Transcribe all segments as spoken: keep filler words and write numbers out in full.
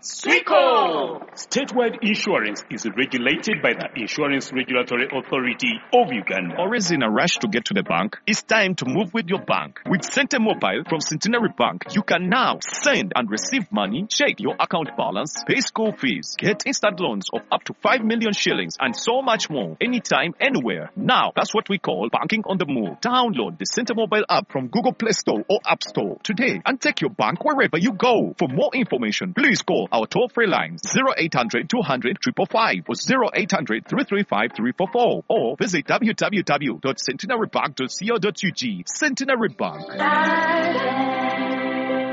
Swiko! Statewide insurance is regulated by the Insurance Regulatory Authority of Uganda. Always in a rush to get to the bank? It's time to move with your bank. With Sente Mobile from Centenary Bank, you can now send and receive money, check your account balance, pay school fees, get instant loans of up to five million shillings, and so much more, anytime, anywhere. Now, that's what we call banking on the move. Download the Sente Mobile app from Google Play Store or App Store today and take your bank wherever you go. For more information, please call our toll-free lines zero eight hundred two hundred five five five or zero eight hundred three three five three four four or visit w w w dot centenary bank dot co dot u g. Centenary Bank.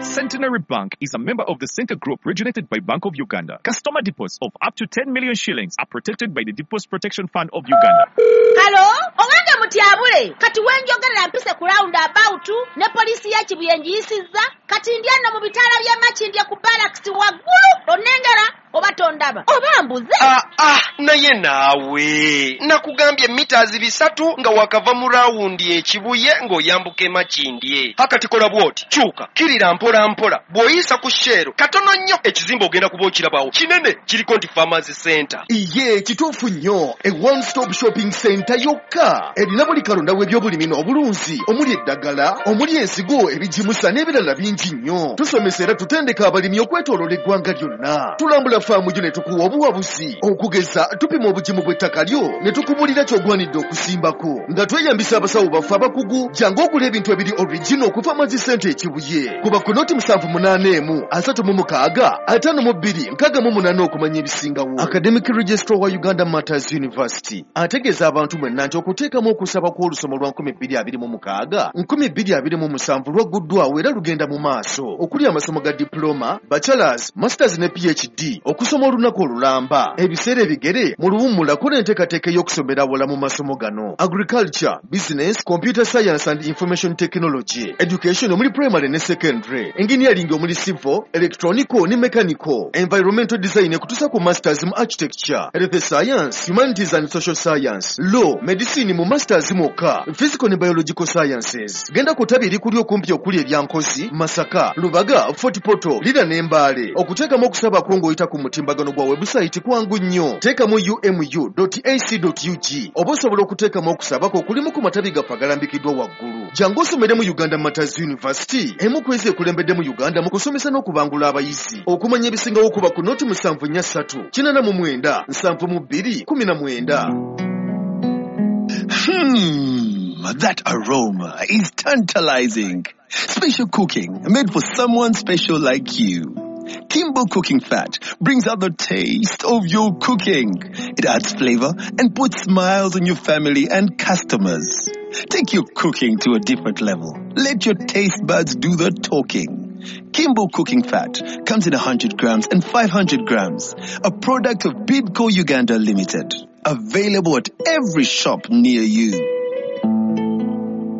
Centenary Bank is a member of the Center Group regulated by Bank of Uganda. Customer deposits of up to ten million shillings are protected by the Deposit Protection Fund of Uganda. Hello? Owange mutyabule. Kati wenjogerera mpise ku roundabout ne poliisi ya Kibuye ngiyisizza. Kati ndi ano mu bitaala by'e Makindye ku barracks waggulu. Onnengera oba tondaba oba mbuze. Ah, ah, naye naawe nakugambye mitazi bisatu nga wakava mu rawundi e Kibuye ng'oyambuka e Makindye. Hakati kola bw'oti, kyuka, kirira mpola mpola, bw'oyisa ku Shell katono nnyo ekizimbe ogenda kuba okirabawo kinene kiriko nti Farmers Center. Iye kituufu nnyo, e one stop shopping center yokka erina buli kalonda w'ebyobulimi n'obulunzi omuli eddagala, omuli ensigo, ebigimusa n'ebirala bingi nnyo. Tusomesa era tutendeka abalimi okwetooloola eggwanga lyonna. Tulambula faamu yo ne tukuwa obuwabuzi. Okugeza tupima obugimu bw'ettaka lyo ne tukubuulira ky'ogwanidde okusimbako nga tweyambisa abasawo baffe abakugu. Jangu ogula ebintu ebiri original okuva Farmers Center e Kibuye. Kuba ku noti musanvu munaana emu asatu mu mukaaga ataano mu bbiri nkaaga mu munaana okumanya ebisingawo. Academic Registrar wa Uganda Martyrs University ategeeza abantu mwenna nti okuteekamu okusaba kw'olusoma lwa nkumi bbiri abiri mu mukaaga nkumi bbiri abiri mu musanvu lwagguddwawo era lugenda mu maaso okuli amasomo ga diploma, bachelors, masters ne P H D, okusoma olunaku olulamba, ebiseera ebigere mu luwummula kola enteekateeka ey'okusomera awala mu masomo gano: agriculture, business, computer science and information technology, education omuli primary ne secondary, engineering omuli civil, electronical ne mechanical, environmental design ekutuusa ku masters mu architecture, health science, humanities and social science, law, medicine mu masters mwokka, physical ne biological sciences. Genda ku ttabi erikuli okumpi okuli erya Nkozi, Masaka, Lubaga, Fort Portal, Lira ne Mbale. Okuteekamu okusaba kwo ng'oyita ku mutimbagano gwa website kwangu nnyo. Teekamu u m u dot a c dot u g oba osobola okuteekamu okusaba kwo okulimu ku matabi gaffe agalambikiddwa waggulu. Jangu osomere mu Uganda Martyrs University, emu ku ezo ekulembedde mu Uganda mu kusomesa n'okubangula abayizi. Okumanya ebisingawo kuba ku noti musanvu nnya ssatu kinaana mu mwenda nsanvu mu bbiri kumi na mwenda. Hmm, that aroma is tantalizing. Special cooking made for someone special like you. Kimbo Cooking Fat brings out the taste of your cooking. It adds flavor and puts smiles on your family and customers. Take your cooking to a different level. Let your taste buds do the talking. Kimbo Cooking Fat comes in a hundred grams and five hundred grams. A product of Bidco Uganda Limited. Available at every shop near you.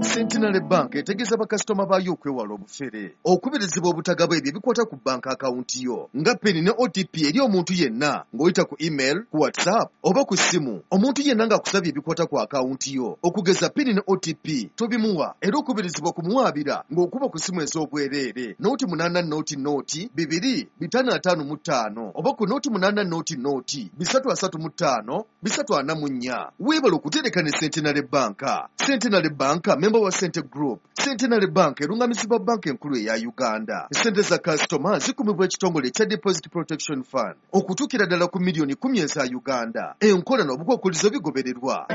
Centenary Bank etegeeza bakasitoma baayo okwewala obufere, okubirizibwa obutagaba ebyo ebikwata ku banka akawunti yo nga PIN ne O T P eri omuntu yenna ng'oyita ku email, ku WhatsApp oba ku ssimu. Omuntu yenna ng'akusabye ebikwata ku akawunti yo okugeza PIN ne O T P tobimuwa, era okubirizibwa kumuwaabira ng'okuba ku ssimu ez'obwereere nooti munaana nooti nooti bibiri bitaano ataano mu ttaano oba ku nooti munaana nooti nooti bisatu asatu mu ttaano bisatu ana mu nnya. Weebale okutereka ne Centenary Bank. Centenary Bank member wa Center Group. Centenary Bank erungamizibwa banka enkulu eya Uganda. Sente za kasitoma zikumibwa ekitongole ekya Deposit Protection Fund okutuukira ddala ku miliyoni kkumi eza Uganda. Enkola n'obukwakkulizo bigobererwa.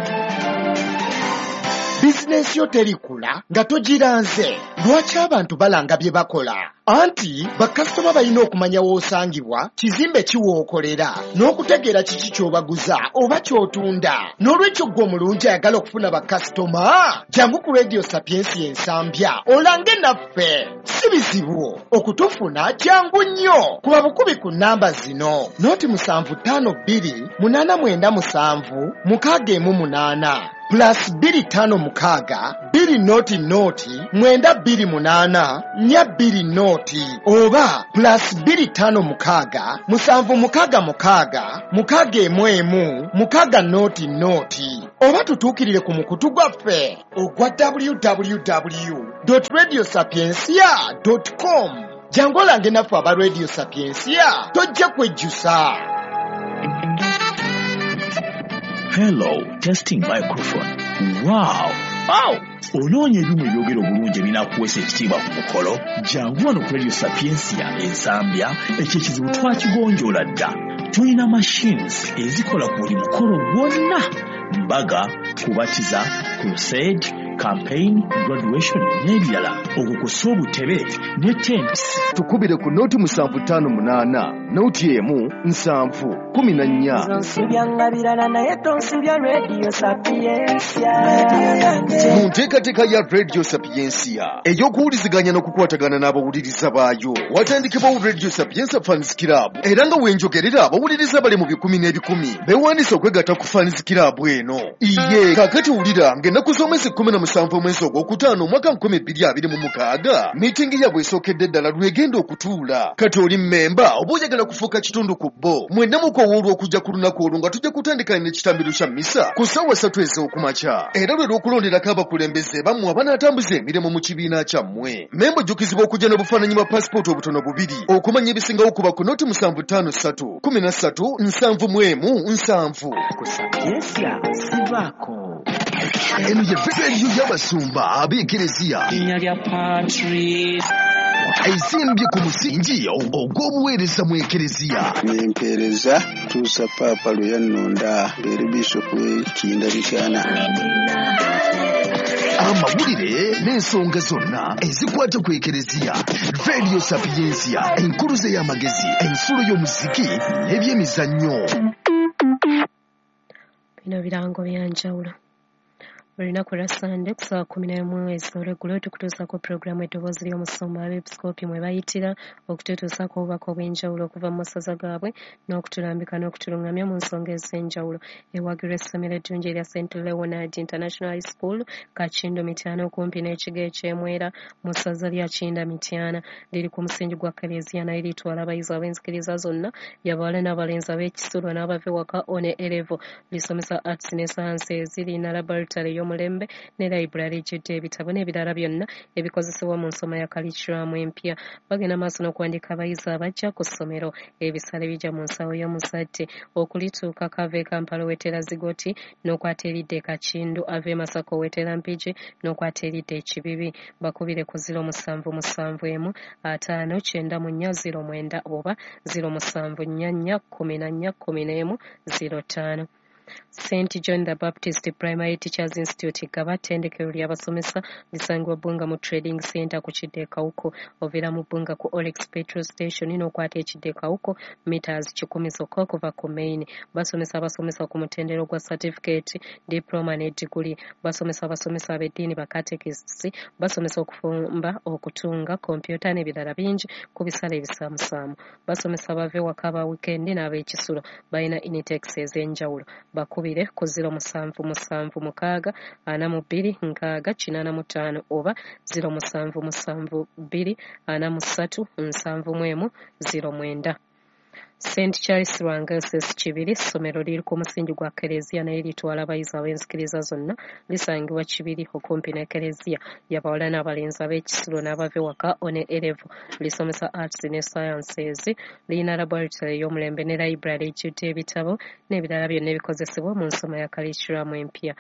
Bizinensi yo terikula nga togiranze. Lwaki abantu balanga bye bakola? Anti bakasitoma balina okumanya w'osangibwa, kizimbe ki w'okolera, n'okutegeera kiki ky'obaguza oba ky'otunda. N'olwekyo ggwe omulungi ayagala okufuna bakasitoma, jangu ku Radio Sapientia Ensambya olange naffe. Si bizibu okutufuna, kyangu nnyo. Kuba bukubi ku nnamba zino: noti musanvu ttaano bbiri munaana mwenda musanvu mukaaga emu munaana plus bbiri ttaano mukaaga bbiri noti noti mwenda bbiri munaana nnya bbiri noti oba plus bbiri ttaano mukaaga musanvu mukaaga mukaaga mukaaga emu emu mukaaga noti noti oba tutuukirire ku mukutu gwaffe ogwa w w w dot radio sapientia dot com. Jangu olange naffe aba Radio Sapiensia, tojja kwejjusa. Hello, testing microphone. Wow! Wow! Onoonya ebyuma ebyogera obulungi ebinaakuweesa ekitiibwa ku mukolo? Jangu wano ku Radio Sapiensia Ensambya, ekyo ekizibu twakigonjoola dda. Tulina machines ezikola ku buli mukolo gwonna: mbaga, kubatiza, crusade, campaign, graduation n'ebirala, okwo kw'ossa obutebe ne tents. Tukubire ku noti musanvu ttaano munaana noti emu nsanvu kumi na nnya. Onsubya birala naye tonsubya Radio Sapiensia. Mu nteekateeka ya Radio Sapiensia ey'okuwuliziganya n'okukwatagana n'abawuliriza baayo, watandikibwawo Radio Sapiensia Fans Club, era nga wenjogerera abawuliriza bali mu bikumi n'ebikumi beewandiisa okwegatta ku Fans Club eno. Iye kaakati wulira ng'ennaku z'omwezi kkumi na musanvu omwezi ogwokutaano omwaka nkumi bbiri abiri mu mukaaga miitingi yaabwe esookedde ddala lwegenda okutuula. Kati oli mmemba oba oyagala kufuuka kitundu ku bo, mwenna mukowoolwa okujja ku lunaku olwo nga tujja kutandika n'ekitambiro kya mmisa ku ssaawa ssatu ez'okumakya, era lwe lw'okulonderako abakulembeze bammwe abanaatambuza emirimu mu kibiina kyammwe. Memba ojjukizibwa okujja n'obufaananyi bwa pasipooti obutono bubiri. Okumanya ebisingawo kuba ku noti musanvu ttaano ssatu kumi na ssatu nsanvu mu emu nsanvu. Ku Sapiensia sivaako. Eno ye rediyo y'abasumba ab'ekereziya Linnya lya Patrice. Ezimbye ku musingi ogw'obuweereza mu ekereziya. Nempeereza tuusa Paapa lwe yannonda ng'eri bishopu w'e Mityana. Amawulire n'ensonga zonna ezikwata ku ekereziya. Radio Sapiensia, enkuluze y'amagezi, ensulo y'omuziki n'ebyemizannyo. Bino birango bya njawulo. Buli lunaku lwa Ssande ku ssaawa kkumi n'emu ez'olweggulo tukutuusaako pulogulaamu Eddoboozi ly'Omusumba, abeepisikoopi mwe bayitira okututuusaako obubaka obw'enjawulo okuva mu masaza gaabwe n'okutulambika n'okutulungamya mu nsonga ez'enjawulo. Ewagirwa essomero eddungi erya Saint Leonard International High School, Kakindo Mityana, okumpi n'ekigo eky'Emwera mu ssaza lya Kinda Mityana. Liri ku musingi gwa Kaleziya naye litwala abayizi ab'enzikiriza zonna, y'abawala n'abalenzi, ab'ekisulo n'abava ewaka O ne A level. Lisomesa arts ne sciences, lirina laboratory y'omulembe ne library ejjudde ebitabo n'ebirala byonna ebikozesebwa mu nsoma ya curriculum empya. Bagenda maaso n'okuwandiika abayizi abajja ku ssomero. Ebisale bijja mu nsawo y'omuzadde. Okulituukako ava e Kampala owetera Zigoti n'okwata eridda e Kakindu, ava e Masaka owetera Mpigi n'okwata eridda e Kibibi. Bakubire ku ziro musanvu musanvu emu ataano kyenda mu nnya ziro mwenda oba ziro musanvu nnya nnya kkumi na nnya kkumi n'emu ziro ttaano. Saint John the Baptist Primary Teachers Institute Gaba, ttendekero ly'abasomesa, lisangibwa Bbunga mu Trading Center ku kidda e Kawuku. Oviira mu Bbunga ku Olex Petrol Station n'okwata ekidda e Kawuku meters kikumi zokka okuva ku main. Basomesa abasomesa ku mutendera gwa certificate, diploma ne diguli. Basomesa abasomesa ab'eddiini, ba catechists, basomesa okufumba, okutunga, kompyuta n'ebirala bingi ku bisale ebisaamusaamu. Basomesa abava ewaka aba weekend n'ab'ekisulo. Balina intakes ez'enjawulo. Bakubire ku ziro musanvu musanvu mukaaga ana mu bbiri nkaaga kinaana mu ttaano oba ziro musanvu musanvu bbiri ana mu ssatu nsanvu mu emu ziro mwenda. Saint Charles Lwanga S S Kibiri, ssomero liri ku musingi gwa Kereziya naye litwala abayizi ab'enzikiriza zonna. Lisangibwa Kibiri okumpi ne Kereziya, y'abawala n'abalenzi, ab'ekisulo n'abava ewaka O ne A level. Lisomesa arts ne sciences, lirina laboratory ey'omulembe ne library ejjudde ebitabo n'ebirala byonna ebikozesebwa mu nsoma ya curriculum empya.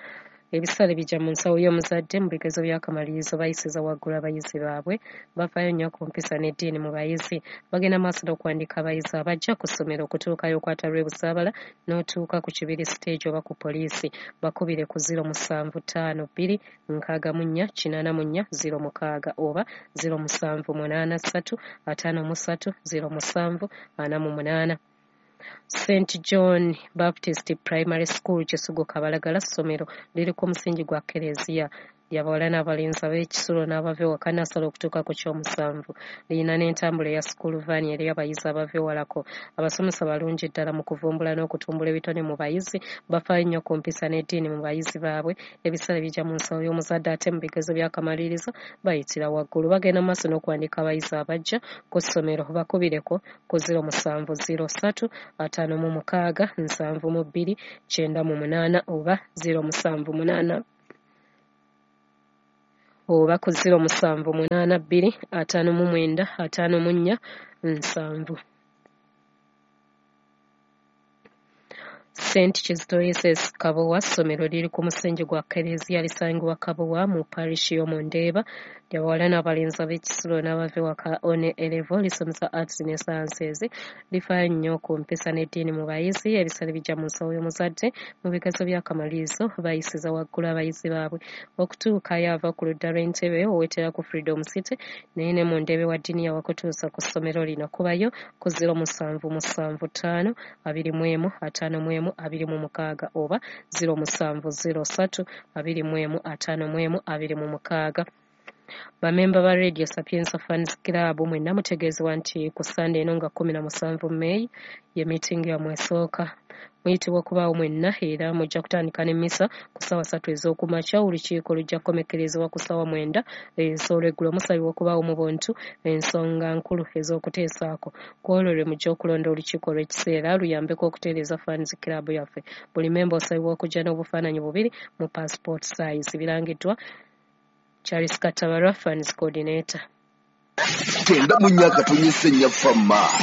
Ebisale bijja mu nsawo y'omuzadde. Mu bigezo by'akamalirizo bayisiza waggulu abayizi baabwe. Bafaayo nnyo ku mpisa n'eddiini mu bayizi. Bagenda maaso n'okuwandiika abayizi abajja ku ssomero. Okutuukayo okwata lw'e Busaabala n'otuuka ku Kibiri stage oba ku poliisi. Bakubire ku ziro musanvu ttaano bbiri nkaaga mu nnya kinaana mu nnya ziro mukaaga oba ziro musanvu munaana ssatu ataano mu ssatu ziro musanvu ana mu munaana. Saint John Baptist Primary School Kisugu Kabalagala, ssomero liri ku musingi gwa Kereziya, ly'abawala n'abalenzi, ab'ekisulo n'abava ewaka, nursery okutuuka ku ky'omusanvu. Lirina n'entambula eya school van eri abayizi abava ewalako. Abasomesa balungi ddala mu kuvumbula n'okutumbula ebitone mu bayizi. Bafaayo nnyo ku mpisa n'eddiini mu bayizi baabwe. Ebisale bijja mu nsawo y'omuzadde, ate mu bigezo by'akamalirizo bayitira waggulu. Bagenda mu maaso n'okuwandiika abayizi abajja ku ssomero. Bakubireko ku ziro musanvu ziro ssatu ataano mu mukaaga nsanvu mu bbiri kyenda mu munaana oba ziro musanvu munaana Oba ku ziro musanvu munaana bbiri ataano mu mwenda ataano mu nnya nsanvu. Saint Kizito S S Kabowa ssomero liri ku musingi gwa Kkereziya lisangibwa Kabowa mu parish y'omu Ndeeba. Ly'abawala n'abalenzi ab'ekisulo n'abava ewaka one A level, lisomesa arts ne sciences. Lifaayo nnyo ku mpisa n'eddiini mu bayizi. Ebisale bijja mu nsawo y'omuzadde. Mu bigezo by'akamalirizo bayisiza waggulu abayizi baabwe. Okutuukayo ava ku ludda lw'Entebe owetera ku Freedom City naye ne mu Ndeebe wa ddiini yawakutuusa ku ssomero lino. Kubayo ku ziro musanvu musanvu ttaano abiri mu emu ataano mu emu abiri mu mukaaga oba ziro musanvu ziro ssatu abiri mu emu ataano mu emu abiri mu mukaaga. Bamemba ba Radio Sapienza Fans Club mwenna mutegeezebwa nti ku Ssande eno nga kkumi na musanvu May ye meeting yammwe esooka. Muyitibwa okubaawo mwenna era mujja kutandika n'emmisa ku ssaawa ssatu ez'okumakya. Olukiiko lujja kukomekkerezebwa ku ssaawa mwenda ez'olweggulo. Musabibwa okubaawo mu buntu ensonga nkulu ez'okuteesaako. Ku olwo lwe mujja okulonda olukiiko olw'ekiseera luyambeko okutereeza Fans Club yaffe. Buli memba osabibwa okujja n'obufaananyi bubiri mu passport size. Birangiddwa Charles Katabarwa, Fans Coordinator. Kyenda mu nnya akatonyesa ennya Fama.